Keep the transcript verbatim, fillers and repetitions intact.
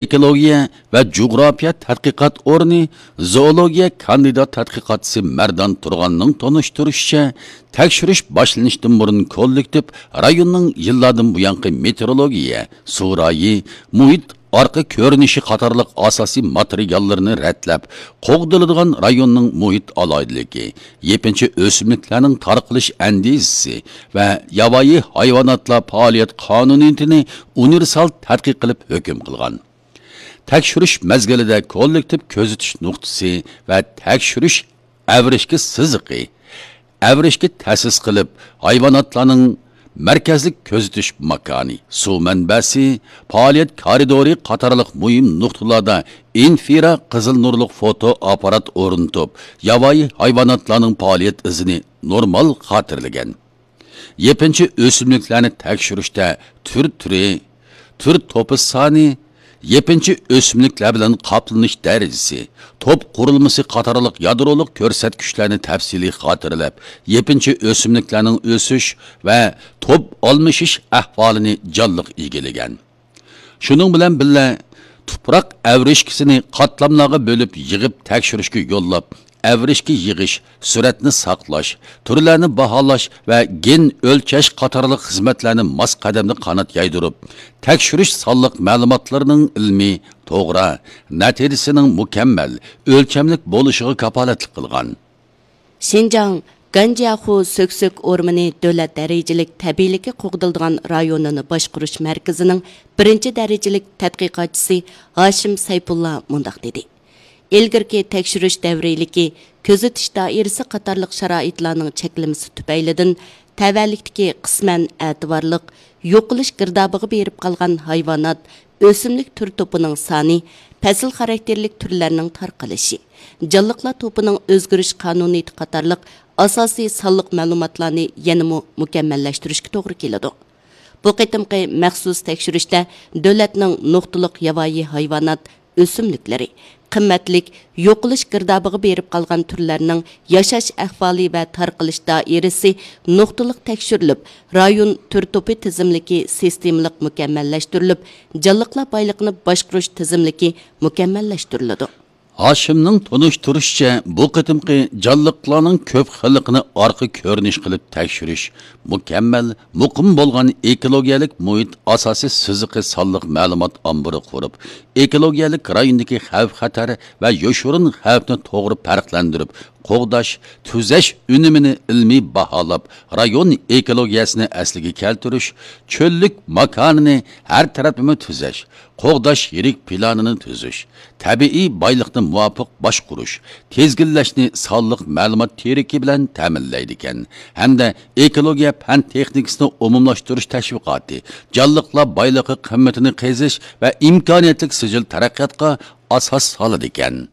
ئېكولوگىيە ۋە جۇغراپىيە تەتقىقات ئورنى زوولوگىيە كاندىدات تەتقىقاتچىسى مەردان تۇرغاننىڭ تونۇشتۇرۇشىچە، تەكشۈرۈش باشلىنىشتىن بۇرۇن كوللېكتىپ رايوننىڭ يىللاردىن بۇيانقى مېتېئورولوگىيە، سۇ رايى، مۇھىت ئارقا كۆرۈنۈشى قاتارلىق ئاساسىي ماتېرىياللىرىنى رەتلەپ، قوغدىلىدىغان رايوننىڭ مۇھىت ئالاھىدىلىكى، يېپىنچا ئۆسۈملۈكلەرنىڭ تارقىلىش ئەندىزىسى ۋە ياۋايى ھايۋاناتلار پائالىيەت قانۇنىيىتىنى ئۇنىۋېرسال تەتقىق قىلىپ ھۆكۈم قىلغان. تەكشۈرۈش مەزگىلىدە كوللېكتىپ كۆزىتىش نۇقتىسى ۋە تەكشۈرۈش ئەۋرىشكە سىزىقى، ئەۋرىشكە تەسىس قىلىپ، ھايۋاناتلارنىڭ مەركەزلىك كۆزىتىش ماكانى، سۇ مەنبەسى، پائالىيەت كارىدورى قاتارلىق مۇھىم نۇقتىلاردا ئىنفرا قىزىل نۇرلۇق فوتو ئاپپارات ئورنىتىپ، ياۋايى ھايۋاناتلارنىڭ پائالىيەت ئىزىنى نورمال خاتىرىلىگەن. يېپىنچا ئۆسۈملۈكلەرنى تەكشۈرۈشتە تۈر تۈرى، تۈر توپى سانى، يېپىنچا ئۆسۈملۈكلەر بىلەن قاپلىنىش دەرىجىسى، توپ قۇرۇلمىسى قاتارلىق يادرولۇق كۆرسەتكۈچلەرنى تەپسىلىي خاتىرىلەپ، يېپىنچا ئۆسۈملۈكلەرنىڭ ئۆسۈش ۋە توپ ئالمىشىش ئەھۋالىنى جانلىق ئىگىلىگەن. شۇنىڭ بىلەن بىللە، تۇپراق ئەۋرىشكىسىنى قاتلاملارغا بۆلۈپ يىغىپ تەكشۈرۈشكە يوللاپ، ئەۋرىشكە يىغىش، سۈرەتنى ساقلاش، تۈرلەرنى باھالاش ۋە گېن ئۆلچەش قاتارلىق خىزمەتلەرنى ماس قەدەمدە قانات يايدۇرۇپ، تەكشۈرۈش سانلىق مەلۇماتلىرىنىڭ ئىلمىي، توغرا، نەتىجىسىنىڭ مۇكەممەل، ئۆلچەملىك بولۇشىغا كاپالەتلىك قىلغان. شىنجاڭ گەنجياخۇ سۆكسۆك ئورمىنى دۆلەت دەرىجىلىك تەبىئىيلىكى قوغدىلىدىغان رايونىنى باشقۇرۇش مەركىزىنىڭ بىرىنچى دەرىجىلىك تەتقىقاتچىسى ھاشىم سەيپۇللا مۇنداق دېدى: ئىلگىرىكى تەكشۈرۈش دەۋرىيلىكى، كۆزىتىش دائىرىسى قاتارلىق شارائىتلارنىڭ چەكلىمىسى تۈپەيلىدىن، تەۋەلىكتىكى قىسمەن ئەتىۋارلىق يوقىلىش گىردابىغا بېرىپ قالغان ھايۋانات، ئۆسۈملۈك تۈر توپىنىڭ سانى، پەسىل خاراكتېرلىك تۈرلەرنىڭ تارقىلىشى، جانلىقلار توپىنىڭ ئۆزگىرىش قانۇنىيىتى قاتارلىق ئاساسىي سانلىق مەلۇماتلارنى يەنىمۇ مۇكەممەللەشتۈرۈشكە توغرا كېلىدۇ. بۇ قېتىمقى مەخسۇس تەكشۈرۈشتە دۆلەتنىڭ نۇقتىلىق ياۋايى ھايۋانات، ئۆسۈملۈكلىرى، قىممەتلىك يوقىلىش گىردابىغا بېرىپ قالغان تۈرلەرنىڭ ياشاش ئەھۋالى ۋە تارقىلىش دائىرىسى نۇقتىلىق تەكشۈرۈلۈپ، رايون تۈر توپى تىزىملىكى سىستېمىلىق مۇكەممەللەشتۈرۈلۈپ، جانلىقلار بايلىقىنى باشقۇرۇش تىزىملىكى مۇكەممەللەشتۈرۈلىدۇ. ھاشىمنىڭ تونۇشتۇرۇشىچە، بۇ قېتىمقى جانلىقلارنىڭ كۆپ خىللىقىنى ئارقا كۆرۈنۈش قىلىپ تەكشۈرۈش، مۇكەممەل، مۇقىم بولغان ئېكولوگىيەلىك مۇھىت ئاساسىي سىزىقى سانلىق مەلۇمات ئامبىرى قۇرۇپ، ئېكولوگىيەلىك رايوندىكى خەۋپ-خەتەر ۋە يوشۇرۇن خەۋپنى توغرا پەرقلەندۈرۈپ قوغداش، تۈزەش ئۈنۈمىنى ئىلمىي باھالاپ، رايون ئېكولوگىيەسىنى ئەسلىگە كەلتۈرۈش، چۆللۈك ماكانىنى ھەر تەرەپلىمە تۈزەش، قوغداش يىرىك پىلانىنى تۈزۈش، تەبىئىي بايلىقنى مۇۋاپىق باشقۇرۇش، تىزگىنلەشنى سانلىق مەلۇمات تىرىكى بىلەن تەمىنلەيدىكەن ھەمدە ئېكولوگىيە پەن تېخنىكىسىنى ئومۇملاشتۇرۇش تەشۋىقاتى، جانلىقلار بايلىقى قىممىتىنى قېزىش ۋە ئىمكانىيەتلىك سىجىل تەرەققىياتقا ئاساس سالىدىكەن.